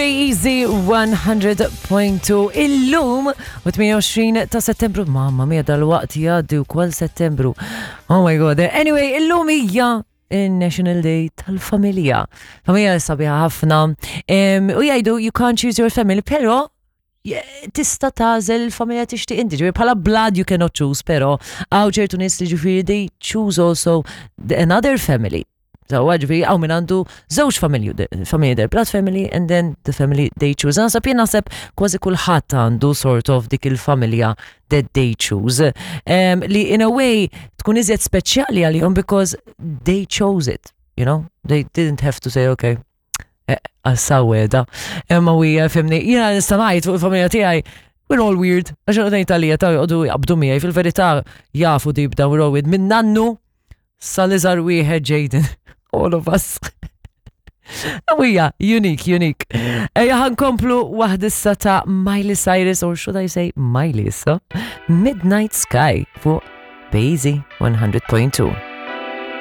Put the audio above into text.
Easy 100.2 illum u 28 ta' settembru. Mamma mia dal-waqt jgħaddi wkoll settembru. Oh my god. Anyway, illum hija il-National Day tal-familja. Familja sabiħa ħafna. U jgħidu you can't choose your family, pero tista' tagħżel il-familja tixtieq inti. Ġifieri bħala blood you cannot choose, pero hawn ċertu nies li ġifieri they choose also another family. So, ġifieri hawn min għandu żewġ familji, familji their blood family and then the family they choose. Naħseb jien naħseb kważi kulħadd għandu sort of dik il-familja that they choose. Um, li in a way tkun iżjed speċjali għalihom because they chose it, you know? They didn't have to say, okay, eh, għas-saweda. Imma u fimni, jiena nista' ngħid fuq il-familja tiegħi We're all weird. Għax għodajn talija ta' jgħodu jaqbdu miegħi fil-verità jafu deep down we're all weird. Minn nannu sal-iżgħar wieħed Jaden. All of us. Ewija, unique, unique. Ejja ħankomplu waħdissa ta' Miley Cyrus, or should I say Miley issa, Midnight Sky fuq Bazy 100.2.